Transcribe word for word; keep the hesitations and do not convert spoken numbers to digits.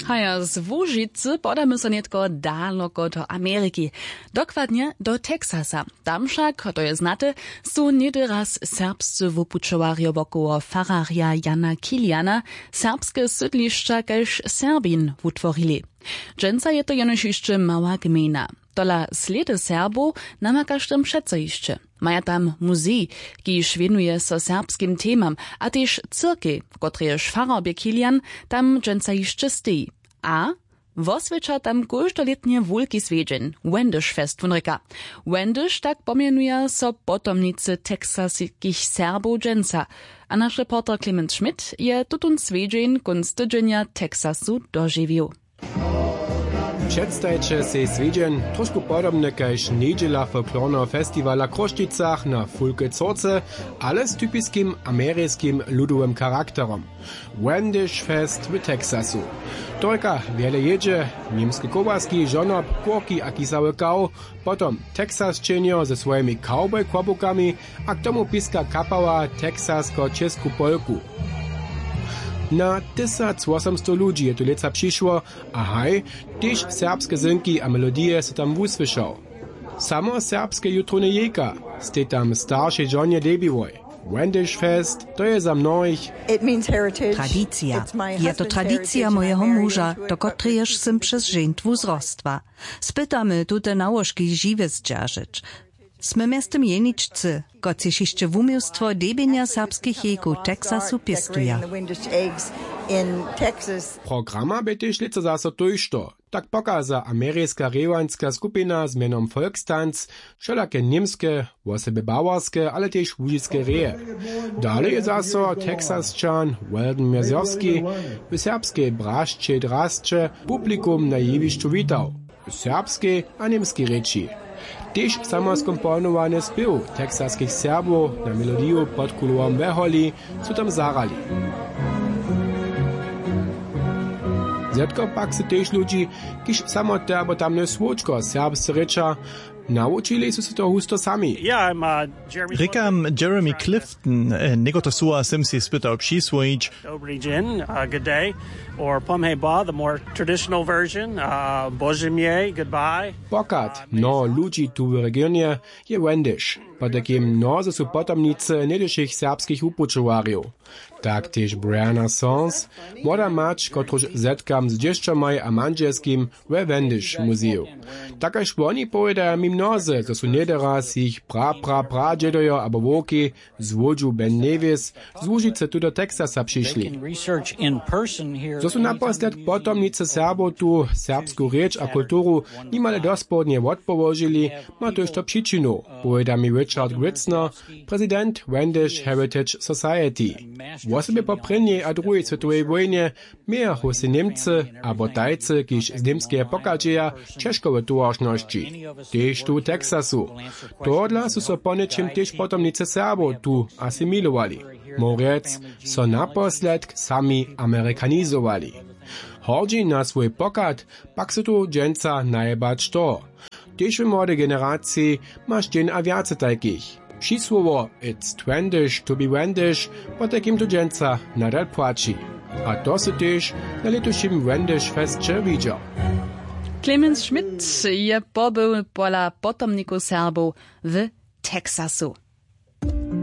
A ja z Łužicy podamy so nětko daloko do Ameriki, dokładnje do Texasa. Tam wšak, to je znate, su něhdy raz serbscy wupućowarjo wokoło fararja Jana Kiliana serbske sydlišća kaž Serbin wutworili. Dźensa je to jenož hišće mała gmejna. Tola slědy Serbow namakaš tam přeco hišće. Maja tam muzej, kiž wěnuje so serbskim temam, a tež cyrkej, kotrejež farar bě Kilian, tam dźensa hišće steji. A woswjeća tam kóždolětnje wulki swjedźeń, Wendyšfest wón rěka. Wendyš, tak pomjenuja so potomnicy texaskich Serbow dźensa. A naš reporter Clemens Schmidt je tutón swjedźeń kónc tydźenja Texasu dožiwił. Předstajće sej swjedźeń, trošku podobny kaž njedźela folklorneho festiwala w Chrósćicach na Fulke Córce, ale z typiskim ameriskim ludowym charakterom. Wendyšfest w Texasu. To rěka wjele jědźe, němske kołaski, žonob, kórki a kisały kaw, potom Texasčenjo ze swojimi cowboy-kłobukami a k tomu piska kapała texasko-česku polku. Na tysacwosomstow ludźi je tu lětsa přišło a haj, tež serbske zynki a melodije so tam wusłyšał. Samo serbske jutrowne jejka stej tam staršej žonje debiłoj. Wendyšfest, to je za mnohich Tradicija. Je to tradicija mojeho muža, do kotrejež sym přez žeńtwu zrostła. Spytamy tute nałožki žiwje zdźeržeć. Smy mjeztym jeničcy, kotřiž hišće wuměłstwo debjenja serbskich jejkow w Texasu pěstuja. Programa bě tež lětsa zaso tójšto. Tak pokaza ameriska rěwanska skupina z mjenom Folkstanz wšelake němske, wosebje bawarske, ale tež łužiske reje. Dale je zaso Texasčan Weldon Mjezowski w serbskej brašćej drasće publikum na jewišću witał w serbskej a němskej rěči. Tež samoskomponowany spěw texaskich Serbow na melodiju pod kulowom weholi su tam zahrali. Zetko pak sy tež ludźi, kiž samo te abo tamne słowčko serbsce rěča, nawučili su se to husto sami. Rěkam Jeremy Clifton, někotre słowa sym sej spytał přiswojić. Dobri dźeń, uh, good day, or pomhe ba, the more traditional version, uh, božemie, goodbye. Pochad mnoho ludźi tu w regionje je wendyš, potajkim mnozy su potomnicy něhdyšich serbskich wupućowarjow. Tak tež Brianna Sons, młoda mać, kotruž zetkam z dźěšćomaj a mandźelskim we Wendyš muzeju. Tak kaž woni powědaja mi mnozy, zo su něhdy raz jich pra pra pradźědojo abo wowki z łódźu Ben Nevis z Łužicy tu do Texasa přišli. Zo su naposledk potomnicy Serbow tu serbsku rěč a kulturu nimale dospornje wotpołožili, ma tójšto přičinu, powěda mi Richard Gritzner, prezident Wendyš Heritage Society. Wosebje po prěnjej a druhej swětowej wójnje mějachu sej Němcy abo tajcy, kiž z Němskeje pochadźeja, ćežko w towaršnosći. Tež tu w Texasu. Tohodla su so poněčim tež potomnicy Serbow tu asimilowali. Móhł rjec, so naposledk sami amerikanizowali. Hordźi na swój pochad pak sy tu dźensa najebać to. Tež w młodej generaciji maš dźeń a wjace tajkich. Přisłowo „It's twendish to be Wendish” potajkim tu dźensa nadal płaći. A to sy tež na lětušim Wendish Fesće widźał. Clemens Schmidt je pobył pola potomnikow Serbow w Texasu.